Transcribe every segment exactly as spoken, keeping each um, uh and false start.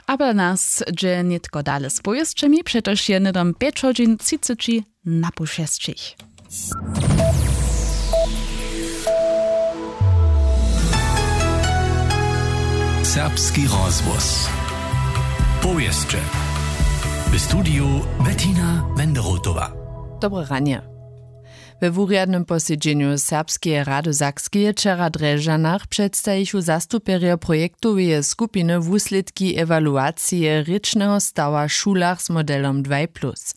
Abo nas dźe nětko dale z powěsćemi, přetož je hnydom pjeć hodźin třiceći na poł šesćich. Serbski rozhłos. Powěsće. W studiju Bettina Wenderotowa. Dobre ranje. We wurjadnym posedźenju Serbskeje rady Sakskeje wčera w Drježdźanach předstajichu zastupjerjo projektoweje skupiny wuslědki ewaluacije rěčneho stawa w šulach z modelom dwaj plus.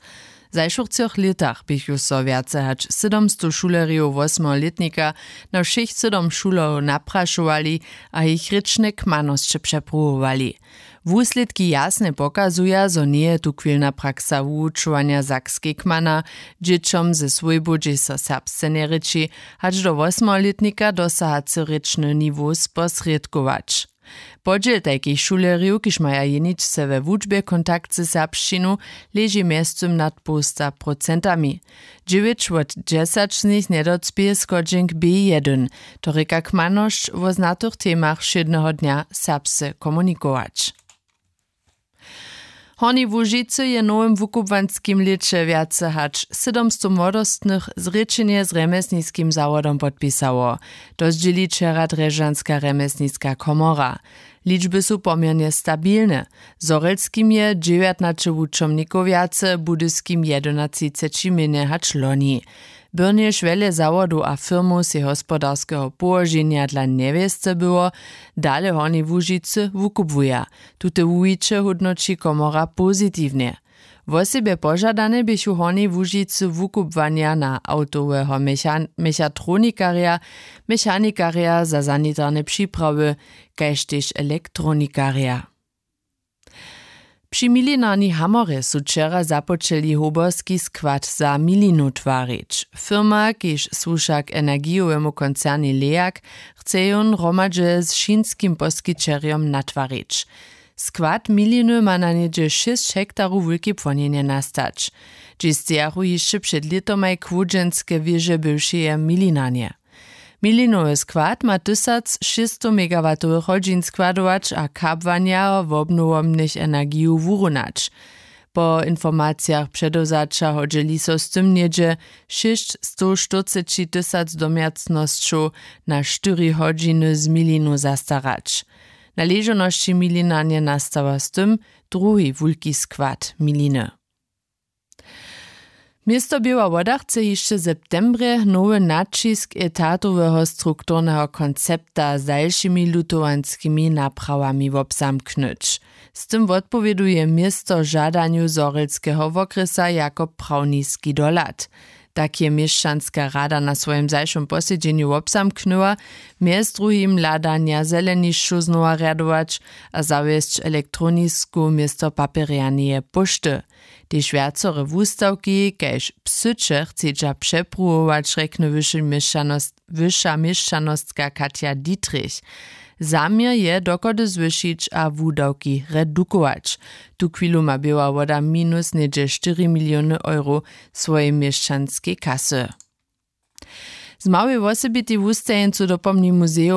W zašłych třoch lětach běchu so wjace hač sydomstow šulerjow wosmeho lětnika na wšěch sydom šulerjow naprašowali a jich rěčne kmanosće přepruwowali. Wuslědki jasnje pokazuja, zo njeje tuchwilna praksa wuwučowanja sakskej kmana, dźěćom ze swójbow, hdźež so serbsce njerěči, hač do wosmeho lětnika dosahacy rěčny niwow sposrědkować. Podźěl tajkich šulerjow, kiž maja jeničce we wučbje kontakt ze serbšćinu, leži mjeztym nad połsta procentami. Dźewjeć wot dźesać z nich njedocpěje schodźenk B jedyn, to rěka kmanosć, wo znatych temach wšědneho dnja serbsce komunikować. W Hornjej Łužicy je w nowym wukubłanskim lěće wjace hač sydomstow młodostnych zrěčenje z rjemjesniskim zawodom podpisało. To zdźěli wčera drježdźanska rjemjesniska komora. Ličby su poměrnje stabilne. W zhorjelskim je dźewjatnaće wučomnikow wjace, w budyskim jedynatřiceći mjenje hač loni. Byrnje šwjele zawodow a firmow sej hospodarskeho połoženja dla njewěsce było, dale w Hornjej Łužicy wukubłuja. Tute wuwiće hódnoći komora pozitiwnje. Wosebje požadane běchu w Hornjej Łužicy wukubłanja na awtoweho mechan- mechatronikarja, mechanikarja za sanitarne připrawy, kaž tež elektronikarja. Při milinarni Hamorje su wčera započeli hoberski skład za milinu twarić. Firma, kiž słuša k energijowemu koncernej Leak, chce jón hromadźe z chińskim poskićerjom natwarić. Skład miliny ma na něhdźe šěsć hektarow wulke płonjenje nastać. Dźě stejachu hišće před lětomaj chłódźenske wěže bywšeje milinarnje. Milinowy skład ma tysac šěsćstow megawatowych hodźin składować a kabłanja wobnowomnych energijow wurunać. Po informacijach předewzaća hodźeli so z tym něhdźe šěsćstowštyrcećitysac domjacnosćow na štyri hodźiny z milinu zastarać. Na ležownosći milinarnje nastała z tym druhi wulki skład miliny. Město Běła Woda chce hišće w septembrje nowy naćisk etatoweho strukturneho koncepta z dalšimi lutowanskimi naprawami wobzamknyć. Z tym wotpowěduje město žadanju zhorjelskeho wokrjesa jako prawniski dohlad. Tak je měšćanska rada na swojim zašłym posedźenju wobzamknyła, mjez druhim hladanja zelenišćow znowa rjadować a zawjesć elektronisku město papjerjaneje póšty. Tež wjacore wustawki kaž psyće chcedźa přepruwować, rjekny wyša měšćanostka Katja Dietrich. Zaměr je dochody zwyšić a wudawki redukować. Tuchwilu ma Běła Woda minus něhdźe štyri miliony euro swojej měšćanskej kasy. Z małej wosebitej wustajeńcu dopomni muzejow